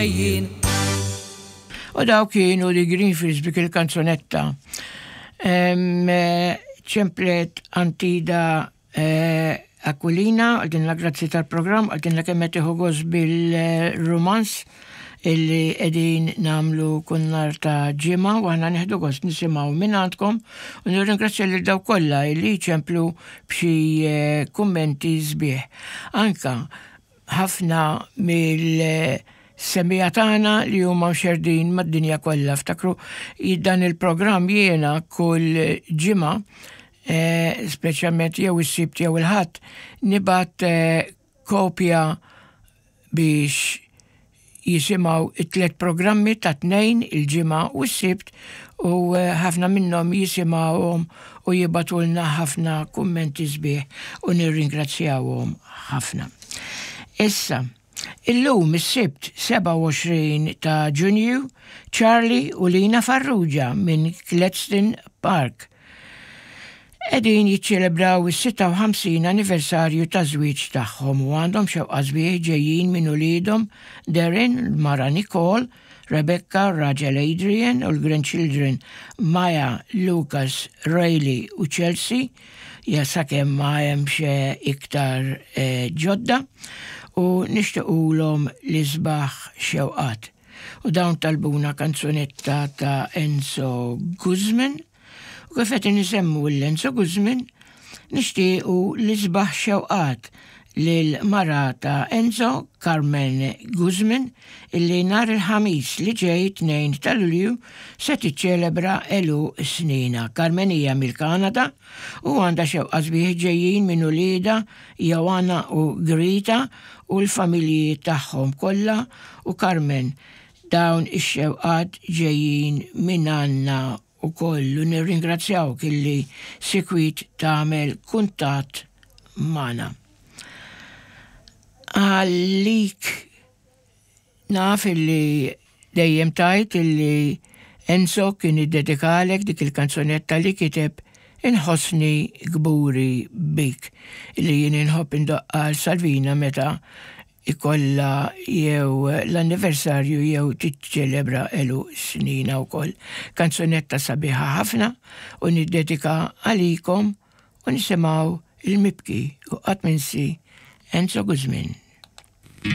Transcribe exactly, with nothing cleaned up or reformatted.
Jien. U daw kienu li Greenfields bik il-kanzunetta. Ċemplet Antida eh, Aquilina, għaldinna grazzi tal-programm, għaldinna kemm qed tieħu gost bil-romans illi qegħdin nagħmlu kull nhar ta' ġimgħa u aħna nieħdu gost nisimgħu minn għandkom u nirringrazzja lil daw kollha illi ċemplu b'xi eh, kummenti sbieħ. Anka ħafna mill-semmiegħa tagħna li huma mxerdin mad-dinja kollha. Ftakru dan il-programm jiena kull ġimgħa, eh, speċjalment jew is-Sibt jew il-Ħadd, nibgħat eh, kopja biex jisimgħu it-tlet programmi ta' tnejn il-Ġimgħa u s-Sibt u eh, ħafna minnhom jisimgħuhom u jibagħtulna ħafna kummenti sbieħ u nirringrazzjawhom ħafna. Issa, illum is-Sibt sebgħa u għoxrin ta' Ġunju, Charlie u Lina Farrugia minn Gladstone Park qegħdin jiċċelebraw is-sitta u ħamsin anniversarju ta' żwieġ tagħhom u għandhom xewqa sbieħ ġejjin minn uliedhom Darren, mara Nicole, Rebecca, raġel Adrian u l-grandchildren Maya, Lucas, Rayleigh u Chelsea, ja sakemm ma hemmx iktar eh, ġodda u nixtiequlhom l-isbaħ xewqat. U dawn talbuna kanzunetta ta' Enzo Guzman. U kif qed nisemmu l-Enzo Guzman, nixtiequ l-isbaħ xewqat lil mara ta' Enzo, Carmen Guzman, illi nhar il-Ħamis li ġej, tnejn ta' Lulju, se tiċċelebra għeluq sninha. Carmen hija mill-Kanada u għandha xewqa sbieħ ġejjin minn uliedha Joanna u Grita u l-familji tagħhom kollha u Carmen, dawn ix-xewqat ġejjin minn għandna u kollu nirringrazzjawk illi sikwit tagħmel kuntatt magħna. Għalik naf illi dejjem tajt illi Enzo kien iddedikalek dik il-kanzunetta li kiteb, "Inħossni Kburi Bik", illi jien inħobb indoqqa Salvina meta ikolla jew l-anniversarju jew tiċċelebra għeluq sninha wkoll. Kanzunetta sabiħa ħafna u niddedika għalikom u nisimgħu il-mibki u qatt minsi Enzo Guzman.